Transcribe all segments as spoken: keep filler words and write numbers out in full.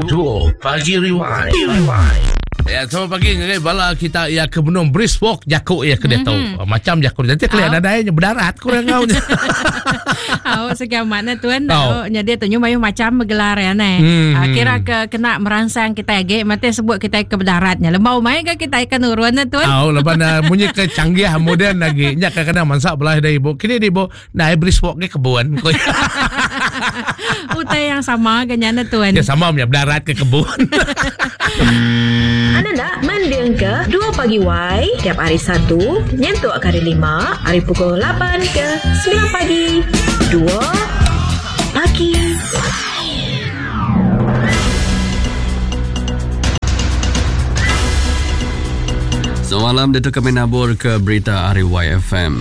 Dua Pagi Rewind. Rewind. Ya, selamat pagi ngagai bala kita ya ke benung brisk walk jakuk ya ke dia mm-hmm. Macam jakuk nanti kalian oh. Nadai berdarat kurang ngau. Oh, sekian mana tuan. Oh. Jadi tu nyu macam bergelar ya ne. Mm-hmm. Uh, kira ke kena merangsang kita lagi mati sebut kita ke berdaratnya. Lembau mai ke kita ikan urun tuan. Oh, lepas na bunyi ke canggih moden lagi. Nya kadang-kadang mansak belah dah ibu. Kini di ibu nah brisk walk ke kebun. Utai yang sama ke nyana tuan. Ya sama punya berdarat ke kebun. Anda nak mending ke dua pagi Y tiap hari Satu nyentuk hari Lima hari pukul lapan ke sembilan pagi. Dua pagi. Semalam dia kami nabur ke berita hari Y F M.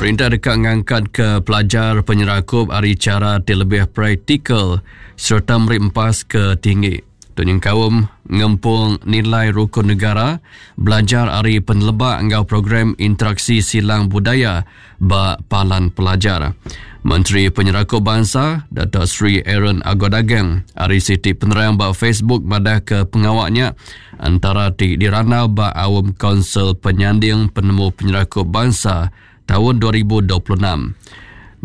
Perintah dekat ngangkat ke pelajar penyerakup hari cara ti lebih praktikal serta meri empas ke tinggi. Tunyang kaum ngempung nilai rukun negara belajar hari penelebak engau program interaksi silang budaya ba palan pelajar. Menteri Penyerakup Bangsa Dato' Sri Aaron Ago Dagang hari siti penerang ba Facebook madah ke pengawaknya antara ti diranau ba awam Konsel Penyanding Penemu Penyerakup Bangsa tahun dua ribu dua puluh enam.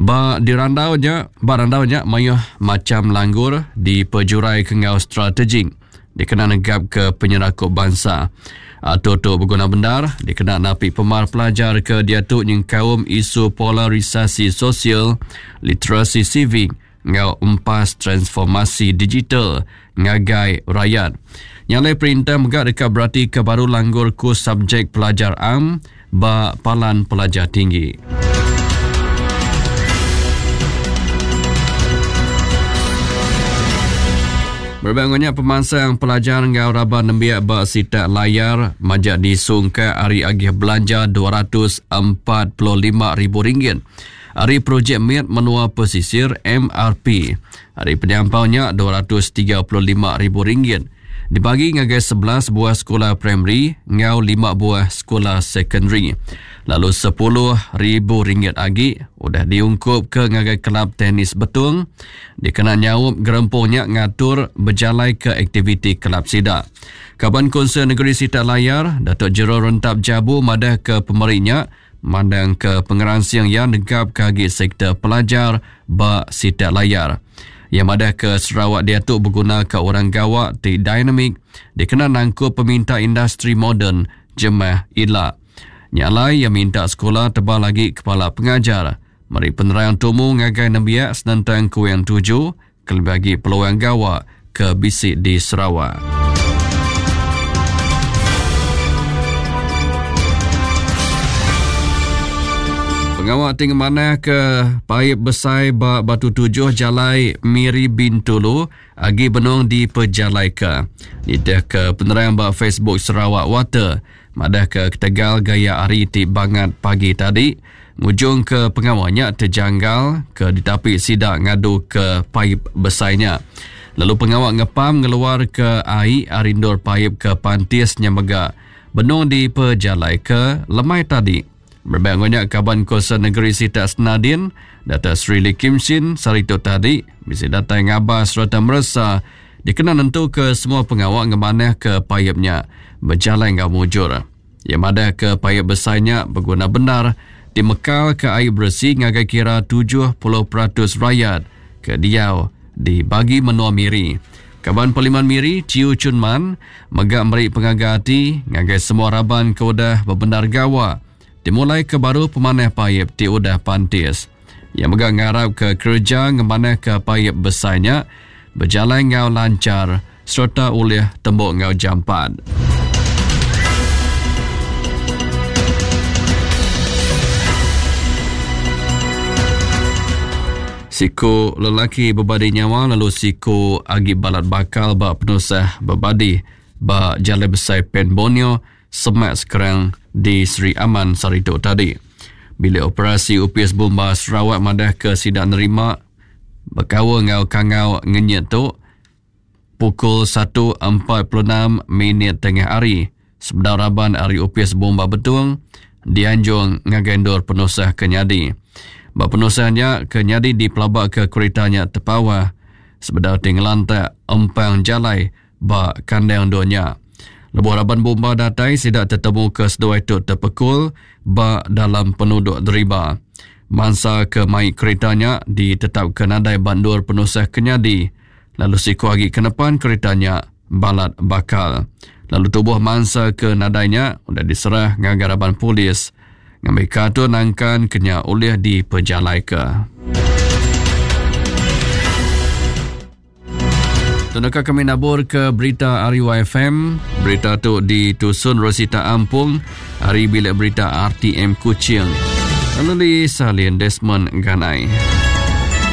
Ba dirandaunya, ba randaunya mayuh macam langgur di pejurai kengau strategik dikena negap ke penyerakup bangsa. Atau tu berguna bendar dikena napi pemar pelajar ke diatu nyengkaum isu polarisasi sosial, literasi civic ngau empas transformasi digital ngagai rakyat. Nyalai perintah megak dekat berarti ke baru langgur kus subjek pelajar am ba palan pelajar tinggi. Berbangunnya pemansang pelajar ngau raban nembiak ba sitak layar majak disungka hari agih belanja dua ratus empat puluh lima ribu ringgit. Hari projek M I T Menua Pesisir M R P. Hari penyampaunya dua ratus tiga puluh lima ribu ringgit. Dibagi ngagai sebelas buah sekolah primary ngau lima buah sekolah secondary. Lalu sepuluh ribu ringgit lagi udah diungkup ke ngagai kelab tenis Betung dikena nyaup gerempungnya ngatur berjalai ke aktiviti kelab sidak. Kaban Konsel Negeri Sitak Layar Datuk Jero Rentap Jabu madah ke pemerinya mandang ke pengeransing yang negap kagi sektor pelajar ba Sitak Layar. Yang madah ke Sarawak diatu berguna ke orang gawak ti dinamik dikena nangkup peminta industri moden jemah ila. Nyalai yang minta sekolah tebal lagi kepala pengajar. Meri penerang tumu ngagai nembiak senentang kuing tujuh kelebih bagi peluang gawak ke bisik di Sarawak. Pengawak tinggi mana ke paip besai ba Batu Tujuh Jalai Miri Bintulu agi benung di Pejalaika. Nitih ke penerang ba Facebook Sarawak Water madah ke ketegal gaya hari ti bangat pagi tadi ngujung ke pengawaknya terjanggal ke ditapi sidak ngadu ke paip besainya. Lalu pengawak ngepam ngeluar ke air arindur paip ke pantisnya mega benung di Pejalaika lemai tadi. Berbangunnya Kaban Kuasa Negeri Sitak Senadin, Dato' Sri Lee Kim Shin saritu tadi bisa datang ngabas serta meresa dikena nentu ke semua pengawak ngemanah ke payapnya berjalan ngau mujur. Yang madah ke payap besarnya berguna benar dimekal ke air bersih ngagai kira tujuh puluh peratus rakyat ke diau di bagi menua Miri. Kaban Parlimen Miri, Chiu Chun Man, megak meri pengaga hati ngagai semua raban ke udah berbenar gawa dimulai ke baru pemanah payap ti udah pantis. Yang megak ngarap ke kerja ngemanah ke payap besarnya berjalan ngau lancar serta oleh tembok ngau jampat. Siku lelaki berbadi nyawa lalu siku agi balat bakal ba penusah berbadi ba Jalai Besar Pen Borneo semak sekarang di Sri Aman saritu tadi. Bila operasi U P S Bomba Sarawak madah ke sidak nerima berkawa ngau kangau ngenyit tu pukul satu empat puluh enam minit tengah hari sebedar raban hari U P S Bomba Betung dianjung ngagai ndur penusah kenyadi. Ba penusahnya kenyadi di pelabak ke keretanya terpawah Sebedau ti ngelantak empang jalai ba kandang dunya. Lebuh raban bomba datai sida tetemu ke seduai tu terpekul ba dalam penuduk deriba. Mangsa ke mai keretanya ditetapkan nadai bandur penusah kenyadi lalu siku agi kenepan keretanya balat bakal. Lalu tubuh mangsa ke nadainya udah diserah ngagai raban polis ngambil kartu nangkan kenya oleh dipejalai ke. Tunaka kami nabur ke berita R U F M. Berita tu ditusun Rosita Ampung hari bilik berita R T M Kuching. Lalu Salin Desmond Ganai.